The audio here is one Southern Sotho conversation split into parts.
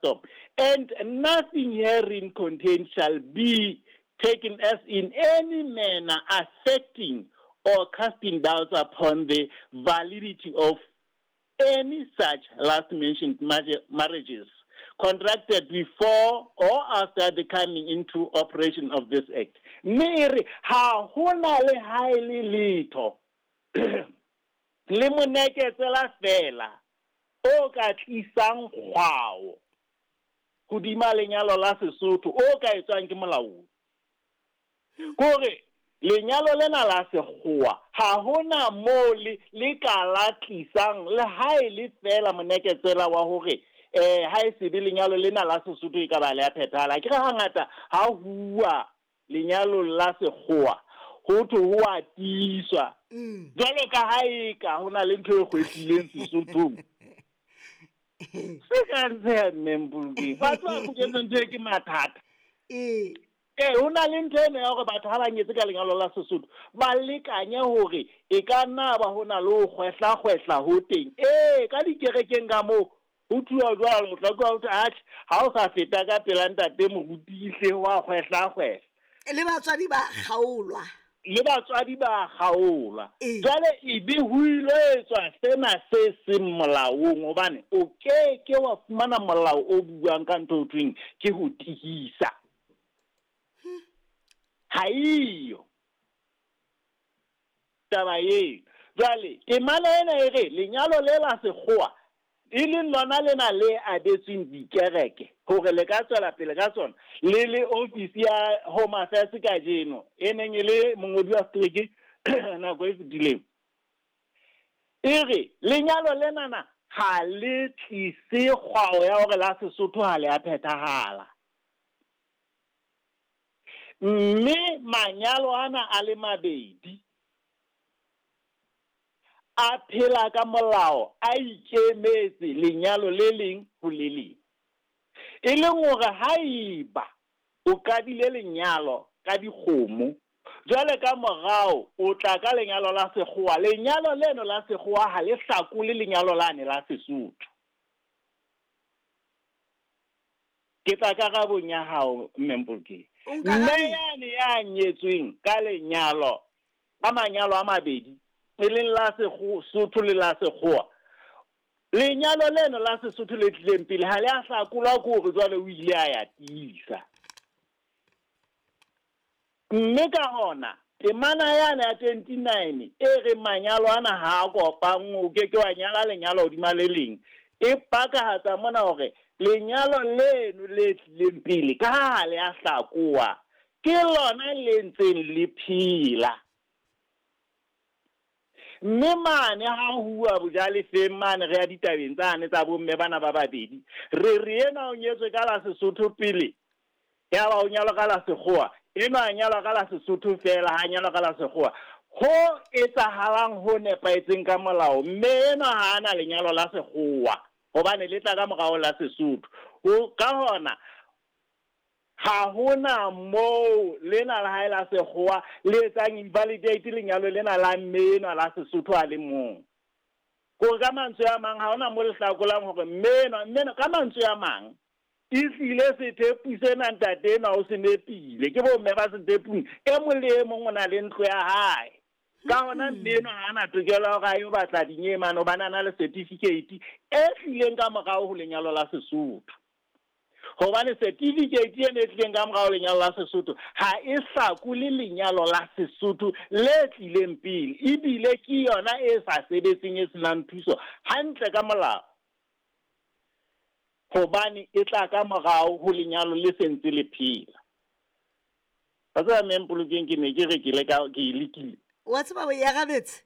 Stop. And nothing herein contained shall be taken as in any manner affecting or casting doubts upon the validity of any such last mentioned marriages contracted before or after the coming into operation of this act. Mme e re ha ho na le ha e le letho le moneketsela feela o ka tlisang kgwao hodima lenyalo la Sesotho o ka etswang ke molaodi. Ke hore lenyalo lena la sekgowa ha ho na moo le le ka la tlisang le ha e le feela moneketsela wa hore um ha e se be lenyalo lena la Sesotho e ka ba le a phethahala. Akere hangata ha huwa lenyalong la sekgowa ho thwe ho a tiiswa jwalo ka ha eka ho na le ntho e kgwetlileng Sesothong. Se ka ntsheha mme Mpolokeng. Batho ba boketseng ntho e ke mathata. Ee. Ee, ho na le ntho ena ya hore batho ha ba nyetse ka lenyalo la Sesotho ba lekanye hore e ka nna ba ho na le ho kgwehla-kgwehla ho teng. Ee, ka dikerekeng ka moo ho thuwa jwalo, o tla utlwa ho thwe atjhe ha o sa feta ka pela ntate moruti hle wa kgwehla-kgwehla. Le batswadi ba kgaolwa. Le batswadi ba kgaolwa. Ee. Jwale ebe ho ilo etswa sena se seng molaong hobane o ke ke wa fumana molao o buang ka ntho ho thweng ke ho tihisa. Ha eyo taba eo. Jwale temana ena e re lenyalo le la sekgowa e leng lona lena le abetsweng dikereke hore le ka tswela pele ka tsona le le ofisi ya Home Affairs kajeno e neng e le mongodi wa setereke nako e fetileng. E re lenyalo lenana ha le tlise kgwao ya hore la Sesotho ha le a phethahala. Mme manyalo ana a le mabedi a phela ka molao, a ikemetse lenyalo le leng ho le leng. E leng hore haeba o qadile lenyalo ka dikgomo, jwale ka morao o tla ka lenyalo la sekgowa, lenyalo leno la sekgowa ha le hlakole lenyalo lane la Sesotho. Ke tla karabong ya hao, Mme Mpolokeng. O nkarabile. Mme yane ya nyetsweng ka lenyalo, ka manyalo a mabedi, e leng la Sesotho le la Sekgowa, lenyalo leno la Sesotho le tlileng pele ha le a hlakolwa ke hore jwale o ile a ya tiisa. Mme ka hona, temana yane ya 29 e reng manyalo ana ha a kopanngwe, o ke ke wa nyala lenyalo hodima le leng, e pakahatsa mona hore lenyalo leno le tlileng pele, ka ha ha le a hlakoha, ke lona le ntseng le phela. Mme mane ha huwa bojalefeng mane re ya ditabeng tsane tsa bomme bana ba babedi, re re enwa o nyetswe ka la Sesotho pele, yaba o nyalwa ka la Sekgowa, enwa a nyalwa ka la Sesotho feela, ha a nyalwa ka la Sekgowa. Ho etsahalang ho nepahetseng ka molao, mme enwa ha a na lenyalo la Sekgowa, hobane le tla ka morao la Sesotho. Ho, ka hona, ha ho na moo lena la hae la Sekgowa le etsang invalidate lenyalo lena la mme enwa la Sesotho a le mong. Kore ka mantswe a mang, ha hona mo le hlakolang hore mme enwa, mme enwa, ka mantswe a mang, ehlile sethepu sena ntate enwa o se nepile. Ke bomme ba sethepung, e mong le e mong o na le ntlo ya hae. Ka hona mme enwa ha a na tokelo ya hore a yo batla dinyemane hobane a na le certificate e tlileng ka morao ho lenyalo la Sesotho. Hobane certificate ena e tlileng ka morao lenyalo la Sesotho ha e hlakole lenyalo la Sesotho le tlileng pele, ebile ke yona e sa sebetseng e senang thuso hantle ka molao, hobane e tla ka morao ho lenyalo le se ntse le phela. Wa tseba mme Mpolokeng ke ne ke re ke leka ke e lekile. Wa tseba o e arabetse?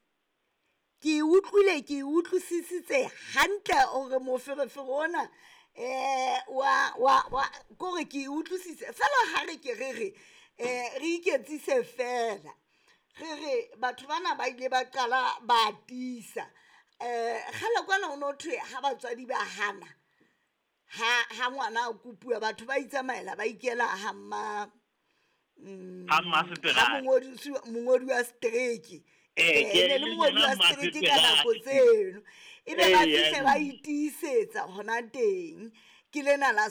Ke e utlwile, ke e utlwisisitse hantle hore moferefere ona um wa wa wa kore ke e utlwisise fela ha re ke re re um re iketsise fela re re batho bana ba ile ba qala ba tiisa um kgale kwana ho no thwe ha batswadi ba hana ha ha ngwana a kopuwa batho ba itsamaela ba ikela ha mma Ha mmaseterata. ha mongodi wa setereke Ee, ke e ne le mongodi wa yena setereke ka nako mmaseterata. tseno e be ba Ee, fihle ba itiisetsa hona teng ke lena la